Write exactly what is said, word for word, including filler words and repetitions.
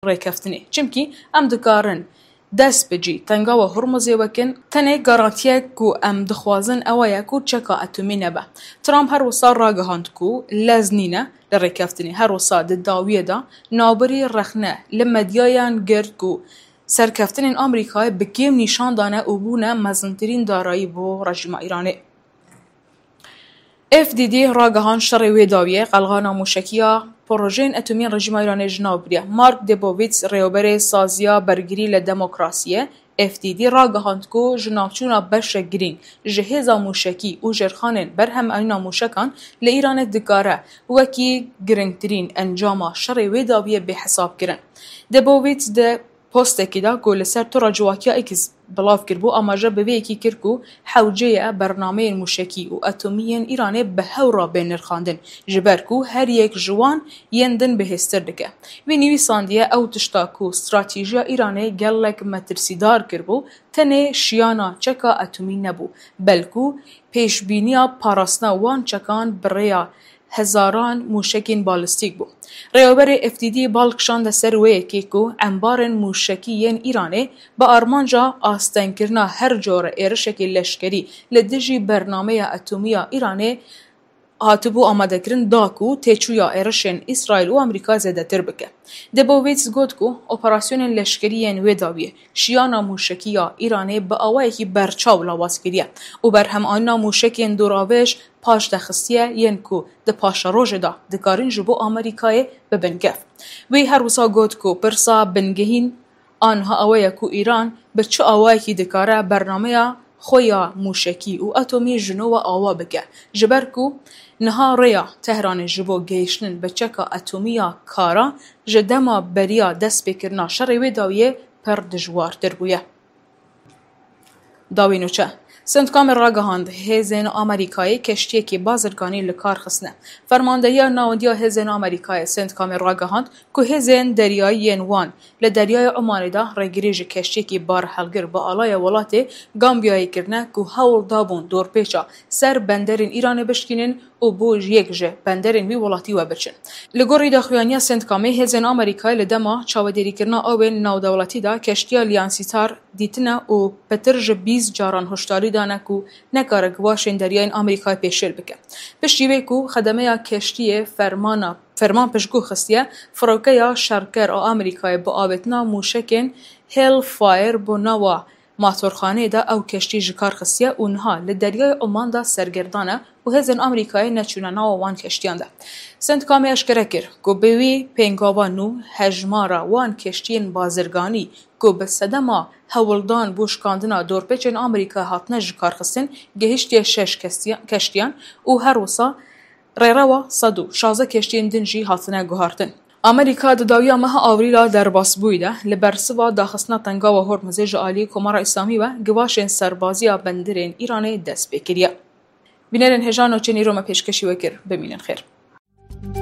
rêkeftinê. Çimkî em dikarin dest bi cî tengawa Hormuzê wekin, tenê garantiyek ku em dixwazin ew e ku çeka etomî nebe. Trump her wisa ragihand ku lez nîne li rêkeftinê. Her wisa di dawiyê de navbirî rexne li medyayan girt ku serkeftinên Amerîkayê bi kêm nîşan dane û bûne mezintirîn darayî bo rejîma Îranê. F D D ragihand şerê wê dawiyê qelxana mûşekiya projeyên etomî yên rejîma Îranê ji nav biriye. Mark Debovîts, rêwberê Saziya Bergirî li Demokrasiyê, F D D, ragihand ku ji navçûna beşek girîng ji hêza mûşekî û jêrxanên berhemanîna mûşekan li Îranê dikare wekî girîngtirîn encama şerê wê dawiyê bê hesab kirin. Debovîts di postekî de ku li ser tora ciwakiya X belav kiribû, amaje bi vê yekî kir ku hewce ye bernameyên mûşekî û etomî yên Îranê bi hew re bên nirxandin, ji ber ku her yek ji wan yên din bihêztir dike. Wî nivîsandiye, ew tişta ku stratîjiya Îranê gelek metirsîdar kiribû, tenê şiyana çeka etomî nebû, belku pêşbîniya parastina wan çekan bi rêya hezaran mûşekên balîstîk bû. Rêweberê F D D bal kişande ser wê yekê ku embarên mûşekî yên Îranê bi armanca astengkirina her cure êrişekê leşkerî li dijî bernameya etomî ya Îranê hatibû amadekirin, da ku têçûya êrişên Îsraîl û Amerîka zêdetir bike. Debovîts got ku operasyonên leşkerî yên wê dawiyê şiyana mûşekî ya Îranê bi awayekî berçaw lawaz kiriye û berhemanîna mûşekên doravêj paş de xistiye, yên ku di paşerojê de dikarin ji bo Amerîkayê bibin kef. Wî her wisa got ku pirsa bingehîn a niha ew e ku Îran bi çi awayekî dikare bernameya xwe ya mûşekî û etomî ji nû ve ava bike, ji ber ku niha rêya Tehranê ji bo gehiştin bi çeka etomî ya kara ji dema beriya destpêkirina şerê wê dawiyê pir dijwartir bûye. Dawî nûçe. Centcomê ragihand, hêzên Amerîkayê keştiyekî bazirganî li kar xistine. Fermandehiya Nawendiya Hêzên Amerîkayê, Centcomê, ragihand ku hêzên deryayî yên wan li Deryaya Omanê de rêgirî ji keştiyekî barhelgir bi alaya welatê Gambiyayê kirine ku hewl dabûn dorpêça ser benderên Îranê bişkînin û bo yek ji benderên wî welatî we biçin. Li gorî daxuyaniya Centcomê, hêzên Amerîkayê li dema çavedêrîkirina awên navdewletî de keştiya Liansîtar dîtine û pitir ji bîst caran hişdarî dane ku nekare givaşên deryayên Amerîkayê pêşêl bike. Piştî wê ku xedemeya keştiyê fermana, ferman piştgû xistiye, firokeya şerker a Amerîkayê bi avêtina mûşekên Hellfire bo nava matorxaneyê de ew keştî ji kar xistiye û niha li Deryayê Oman de sergerdan e û hêzên Amerîkayê neçûne nava wan keştiyan de. Centcomê eşkere kir ku bi wî pêngava nû hejmara wan keştiyên bazirganî ku bi sedema hewldan bo şikandina dorpêçên Amerîkayê hatine ji kar xistin, gehiştiye şeş kestiya-, keştiyan û her wisa rêrewa sed û şazdeh keştiyên din jî hatine guhartin. Amerîka di dawiya meha Avrîla derbasbûyî de li bersiva daxistina tengawa Hormuzê ji alî Komara Îslamî ve givaşên serbaziya bendirên Îranê dest pê kiriye. Bînerên hêja, nûçeyên îro me pêşkêşî we kir. Bimînin xêr.